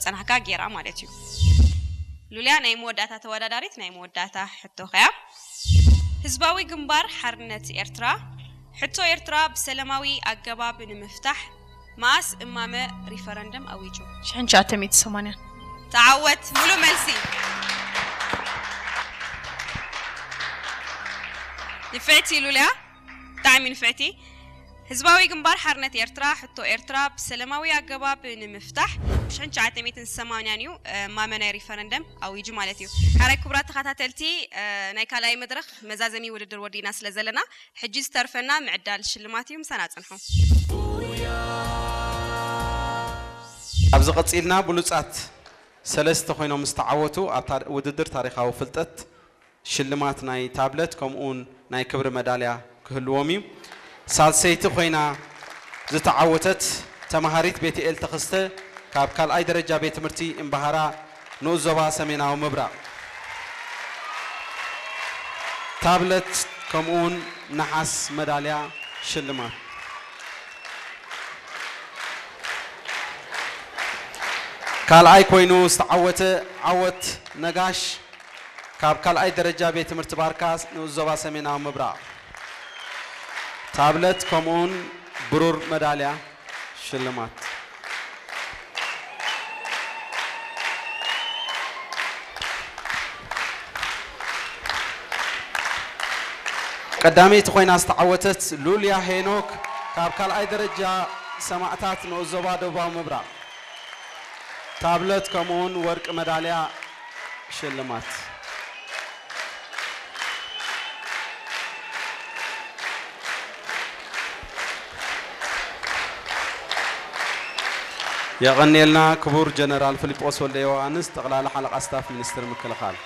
ጸናሕካ ጌራ ማለት እዩ። ሉልያ፣ ናይ መወዳእታ ተወዳዳሪት፣ ናይ መወዳእታ ሕቶኸያ። ህዝባዊ ግንባር ሓርነት ኤርትራ፣ ሕቶ ኤርትራ ብሰላማዊ ኣገባብ ንምፍታሕ መኣስ እማመ ሪፈረንደም ኣዊጁ? ሽሕን ትሽዓተ ሚእቲ ሰማንያን። ተዓወት፣ ሙሉ መልሲ። ንፍዕቲ ሉልያ፣ ብጣዕሚ ንፍዕቲ። ህዝባዊ ግንባር ሓርነት ኤርትራ፣ ሕቶ ኤርትራ ብሰላማዊ ኣገባብ ንምፍታሕ ሽሕን ትሽዓተ ሚእትን ሰማንያን እዩ፣ እ፣ እማመ ናይ ሪፈረንደም ኣዊጁ ማለት እዩ። ሓራይ ክቡራት ተኸታተልቲ፣ እ፣ ናይ ካልኣይ መድረኽ መዛዘሚ ውድድር ወዲና ስለ ዘለና፣ ሕጂ ዝተርፈና ምዕዳል ሽልማት እዩ። ምሳና ጽንሑ። ኣብዚ ቀጺልና ብሉጻት ሰለስተ ኮይኖም ዝተዓወቱ ኣብ ታር-፣ ውድድር ታሪኻዊ ፍልጠት ሽልማት ናይ ታብለት ከምኡውን ናይ ክብሪ መዳልያ ክህልዎም እዩ። ሳልሰይቲ ኮይና ዝተዓወተት ተማሃሪት ቤትኤል ተኸስተ ካብ ካልኣይ ደረጃ ቤት ትምህርቲ እምባሃራ ንኡስ ዞባ ሰሜናዊ ምብራቕ ታብለት ከምኡውን ነሓስ መዳልያ ሽልማት። ካልኣይ ኮይኑ ዝተዓወተ ዓወት ነጋሽ ካብ ካልኣይ ደረጃ ቤት ትምህርቲ ባርካ ንኡስ ዞባ ሰሜናዊ ምብራቕ ታብለት ከምኡውን ብሩር መዳልያ ሽልማት። ቀዳመይቲ ኮይና ዝተዓወተት ሉልያ ሄኖክ ካብ ካልኣይ ደረጃ ሰማእታት ንኡስ ዞባ ደቡባዊ ምብራቕ ታብለት ከምኡውን ወርቂ መዳልያ ሽልማት። የቐንየልና ክቡር ጀነራል ፊሊጶስ ወልደ ዮሃንስ፣ ጠቕላላ ሓለቓ ስታፍ ሚኒስትሪ ምክልኻል።